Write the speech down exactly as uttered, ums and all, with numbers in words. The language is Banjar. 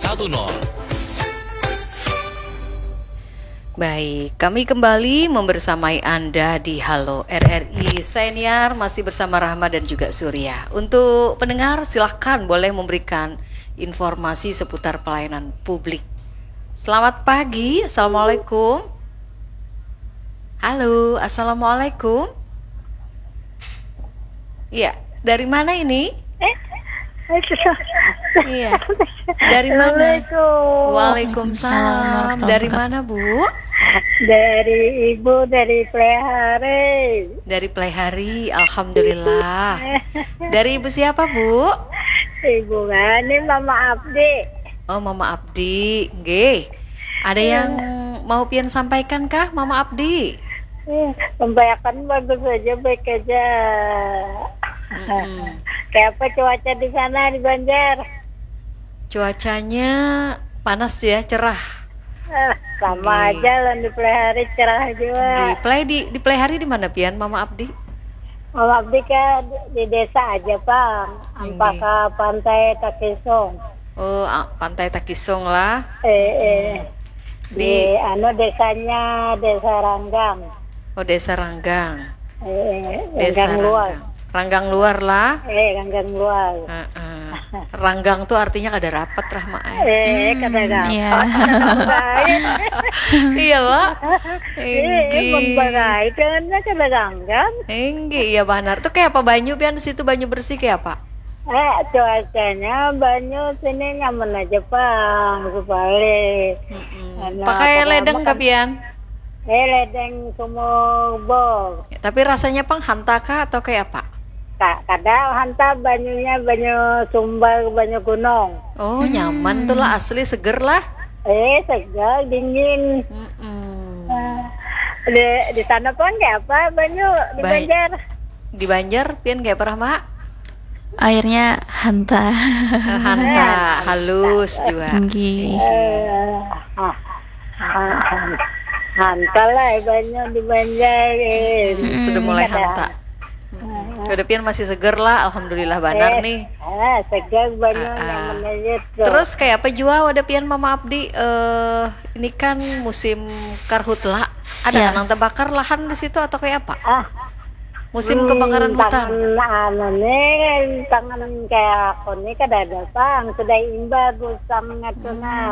Satu nol. Baik, kami kembali membersamai Anda di Halo R R I Senior, masih bersama Rahma dan juga Surya. Untuk pendengar, silahkan boleh memberikan informasi seputar pelayanan publik. Selamat pagi, Assalamualaikum. Halo, Assalamualaikum. Iya, dari mana ini? Eh, iya. Dari mana? Waalaikumsalam. Dari mana, Bu? Dari Ibu, dari Plehari. Dari Plehari, alhamdulillah. Dari Ibu siapa, Bu? Ibu Ngani, Mama Abdi. Oh, Mama Abdi. Nggih. Ada yang mau pian sampaikan kah, Mama Abdi? Sampaikan bagus aja, baik aja. Kayak apa cuaca di sana, di Banjar? Cuacanya panas ya, cerah. Eh, sama aja lah, di Plehari cerah juga. Di Pleh di di Plehari di mana pian, Mama Abdi? Mama Abdi ke di, di desa aja, Pak. Ampaka Pantai Takisung. Oh, Pantai Takisung lah. Eh, eh. Di, di anu, desanya Desa Ranggang. Oh, Desa Ranggang. Eh, eh, Desa Ranggang Luar. Ranggang Luar lah. Eh, Ranggang Luar. Heeh. Ranggang tuh artinya kada rapat, Rahma. Eh, kada rapat. Iya lah. Inggih. Jangannya kada ranggang. Inggih, iya banar. Tuh kayak apa banyu pian di situ, banyu bersih kayak apa? Eh, cuacanya banyu sini nyaman aja, Pang, sebalik. Pakai ledeng kah pian? Eh, ledeng sumur bor. Tapi rasanya pang hanta kah atau kayak apa? Ka-, kada hanta, banyunya banyu sumber, banyu gunung. Oh, nyaman tuh lah, asli seger lah. Eh, seger, dingin. Mm-mm. Eh, di, di sana pun kayak apa banyu di Banjar? Di Banjar, pian kayak apa, Rahma? Airnya hanta. Hanta, halus juga. Nggih. Eh, ah, ah, hanta lah banyu di Banjar. Eh. Hmm, sudah mulai hanta. Kada pian masih seger lah, alhamdulillah banar nih. Ah, seger banyu, nyaman aja tuh. Terus kayak apa jua wadah pian, Mama Abdi? Eh, ini kan musim karhutla. Ada nang terbakar lahan di situ atau kayak apa? Ah, musim kebakaran hutan. Tangan anu nih, tangan kayak aku nih kada ada, Pang. Sudah imbah gusang ngatu nah.